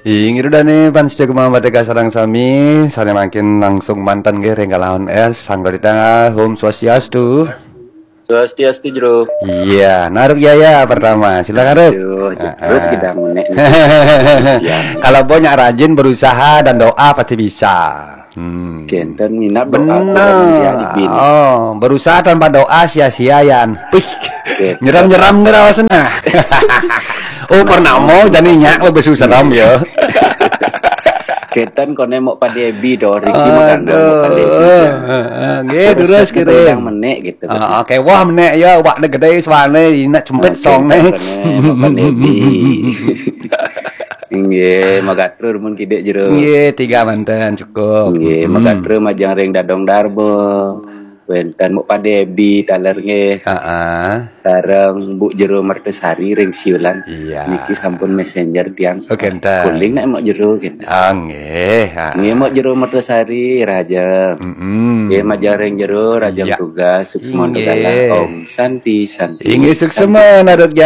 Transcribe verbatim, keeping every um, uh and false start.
Inggih, Ida dané, pamiarsa Gema Merdeka sareng sami, sané mangkin langsung manten nggih ring Galawan S, sangga di tengah, Om Swastiastu. Swastiastu, Jero. Iya, nah, Ruk Yaya pertama. Silakan, Ruk. Aduh, terus kita menék. Ya. Kalau Mbok nyak rajin berusaha dan doa pasti bisa. Hmm. Kénten minab doa. Bener. Oh, berusaha tanpa doa sia-sia, yan. Pih. Kénten. Nyeram-nyeram ngerawasena. Oh, pernah mau jani nyak lebih susah, Ram, ya. Kénten koné Mbok Padé Ebi to, Riki magandeng Mbok Padé Ebi. Aduh, heeh, nggih, terus terus kirim. Menék gitu. Heeh, oké, wah, menék ya, awakné gedé suané, inak cempit. Oké, songné. Kénten koné Mbok Padé Ebi. Inggih, matur nuwun kidik, Jero. Nggih, tiga manten cukup. Nggih, hmm, matur majeng ring Dadong Darma. Wénten Mbok Padé Ebi taler nggih. Heeh. Sareng Bu Jero Mertasari ring Siulan. Iya. Niki sampun messenger tiang. Oh, kénten. Kuling nek Mbok Jero kénten. Ah, nggih. Ah. Nggih, Mbok Jero Mertasari, Raja. Mm-mm. Nggih, majeng ring Jero, Raja. Iya. Tugas, Suksma. Inggih. Nugala, Om Santi, Santi. Inggih, Santi. Suksma, Narut